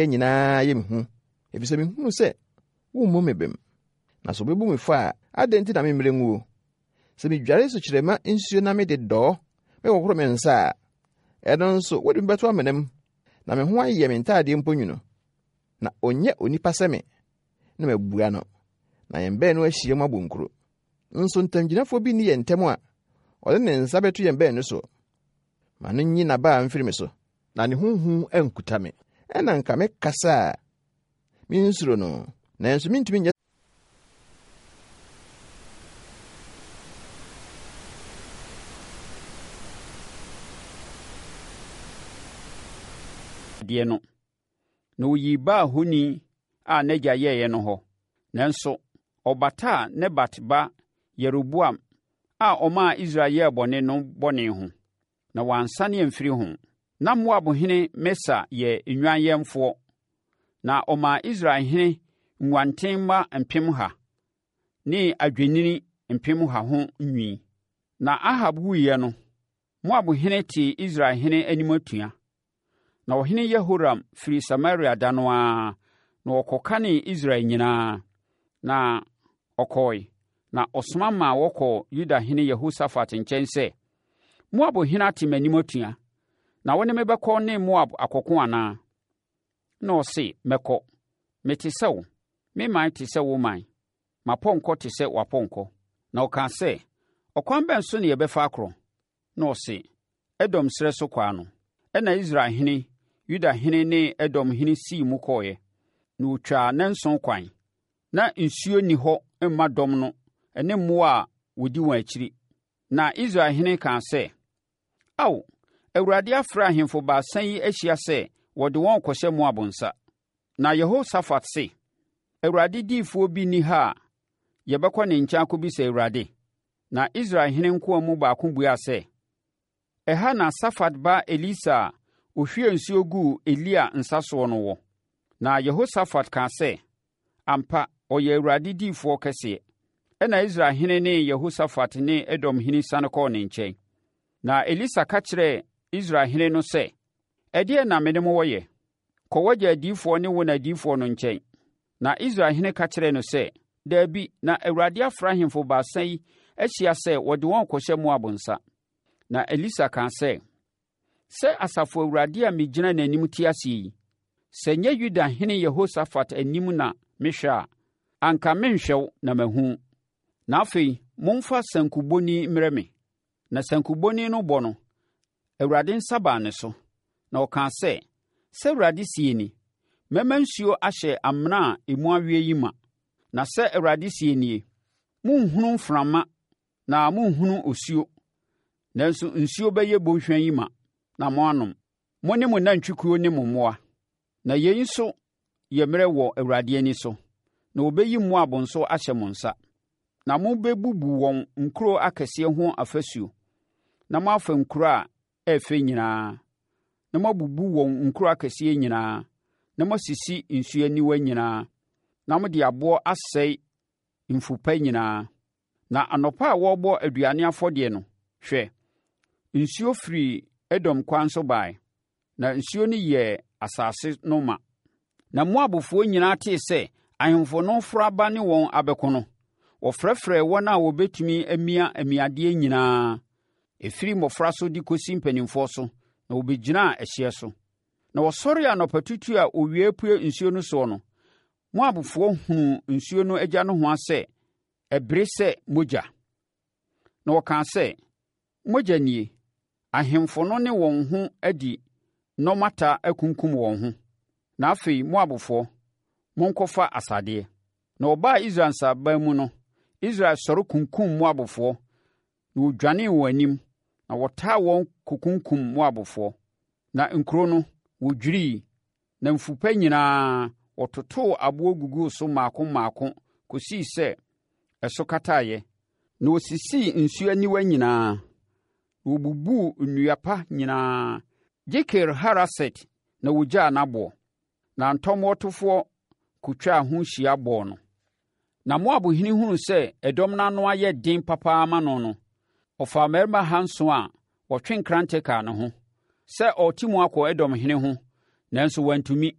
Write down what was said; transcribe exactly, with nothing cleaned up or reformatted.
nyinaa yɛ me hu, efisɛ mihuu sɛ wommu me bem. Na sɛ wobebu me fɔ a, adɛn nti na memmrɛ nguo? Sɛ midware sukyerɛmma nsuo na mede dɔɔ mekɔkoro me nsa a, ɛno nso wode me bɛto amena mu, na me ho ayɛ me ntadeɛ mpo nwunu. Na ɔnyɛ onipa sɛ me, na mabua no, na yɛn baanu ahyia mu abɔ nkuro. Nso ntamgyinafoɔ bi nni yɛn ntam a ɔde ne nsa bɛto yɛn baanu so. Ma no nyi n'abaa mfiri me so, na ne ho hu ankuta me. Ɛna nka mekasa a mensuro no, nanso mintumi nyɛ Adeɛ no. Na ɔyii Baal honi a n'agya yɛeɛ no hɔ. Nanso, ɔbataa Nebat ba Yeroboam a ɔmaa Israel yɛɛ bɔne no bɔne ho, na wansane amfiri ho. Na Moabhene Mesa yɛ nnwanyɛnfoɔ, na ɔmaa Israelhene nguanten mma mpemha ne adwennini mpemha ho nwi. Na Ahab wuiɛ no, Moabhene tee Israelhene anim atua. Na ɔhene Yehoram firii Samaria da no ara, na ɔkɔkanee Israel nyinaa. Na ɔkɔe, na ɔsoma maa wɔkɔɔ Yudahene Yehosafat nkyɛn sɛ, Moab hene ate m'anim atua, na wo ne me bɛkɔ ne Moab akɔko anaa? Na ɔse, Mɛkɔ. Mete sɛ wo, me man te sɛ wo man, m'apɔnkɔ te sɛ w'apɔnkɔ. Na ɔkaa sɛ, Ɔkwan bɛn so na yɛbɛfa akorɔ? Na ɔse, Edom serɛ so kwan no. Ɛnna Israel hene, Yuda hene ne Edom hene sii mu kɔeɛ, na wɔtwaa nnanson kwan. Na nsuo nni hɔ mma dɔm no ne mmoa a wɔdi wɔn akyiri. Na Israel hene kaa sɛ, Ao, Awurade afrɛ ahemfo baasa yi ahyia sɛ wɔde wɔn rekɔhyɛ Moab nsa. Na Yehosafat se, Awurade diyifoɔ bi nni ha a yɛbɛkɔ ne nkyɛn akɔbisa Awurade? Na Israel hene nkoa mu baako buaa sɛ, Ɛha na Safat ba Elisa a ɔhwiee nsuo guu Elia nsa soɔ no wɔ. Na Yehosafat kaa sɛ, Ampa, ɔyɛ Awurade diyifoɔ kɛseɛ. Ɛnna Israel hene ne Yehosafat ne Edom hene siane kɔɔ ne nkyɛn. Na Elisa ka kyerɛɛ Israel hene no sɛ, Ɛdeɛn na me ne mo wɔ yɛ? Kɔ w'agya adiyifoɔ ne wo na adiyifoɔ no nkyɛn. Na Israel hene ka kyerɛɛ no sɛ, Dabi, na Awurade afrɛ ahemfo baasa yi ahyia sɛ wɔde wɔn rekɔhyɛ Moab nsa. Na Elisa kaa sɛ, Sɛ Asafo Awurade a megyina n'anim te ase yi, sɛ ɛnyɛ Yuda hene Yehosafat anim na mehwɛ a, anka merenhwɛ wo na mahu wo. Na afei momfa sankubɔni mmrɛ me. Na sankubɔni no bɔ no, Awurade nsa baa ne so, na ɔkaa sɛ, Sɛ Awurade seɛ ni, Mɛma nsuo ahyɛ amena a emu aweɛ yi ma. Na sɛ Awurade seɛ nie, Morenhunu mframa na morenhunu osuo, nanso nsuo bɛyɛ bɔnhwa yi ma na moanom, mo ne mo nantwikuo ne mo mmoa. Na yei nso yɛ mmerɛ wɔ Awurade ani so, na ɔbɛyi Moab nso ahyɛ mo nsa. Na mobɛbubu wɔn nkuro akɛseɛ ho afasuo, na moafa nkuro a ɛyɛ fɛ nyinaa, na moabubu wɔn nkuro akɛseɛ nyinaa, na moasisi nsuo aniwa nyinaa, na mode aboɔ asɛe mfu pa nyinaa. Na anɔpa a wɔrebɔ aduane afɔdeɛ no, hwɛ, nsuo firii Edom kwan so baeɛ, na nsuo no yɛɛ asase no ma. Na Moabfoɔ nyinaa tee sɛ ahemfo no reforo aba ne wɔn abɛko no, wɔfrɛfrɛɛ wɔn a wɔbɛtumi amia amiadeɛ nyinaa, ɛfiri mmɔfra so de kɔsi mpanimfoɔ so, na wɔbɛgyinaa ɛhyeɛ so. Na wɔsɔree anɔpatutu a owia repue nsuo no soɔ no, Moabfoɔ hunuu nsuo no agya nohoa sɛ ɛbere sɛ mogya. Na wɔkaa sɛ, Mogya nie! Ahemfo no ne wɔn ho adi nnɔmmata akunkum wɔn ho. Na afei, Moabfoɔ, monkɔfa asadeɛ. Na wɔbaa Israel nsraban mu no, Israel sɔre kunkumm Moabfoɔ, na wɔdwanee wɔn anim, na wɔtaa wɔn kɔkunkumm Moabfoɔ. Na nkuro no, wɔdwirii, na mfu pa nyinaa, wɔtotoo aboɔ guguu so mmaako mmaako kɔsii sɛ ɛso kataeɛ. Na wɔsisii nsuo aniwa nyinaa, na wɔbubuu nnua pa nyinaa, gye Kir-Haraset na wɔgyaa n'aboɔ. Na ntɔmmoɔtofoɔ kɔtwaa ho hyia bɔɔ no. Na Moab hene hunuu sɛ ɛdɔm no ano ayɛ den papa ama no no, ɔfaa mmarima ahanson a wɔtwe nkrantɛ kaa ne ho, sɛ ɔrete mu akɔ Edom hene ho, nanso wantumi.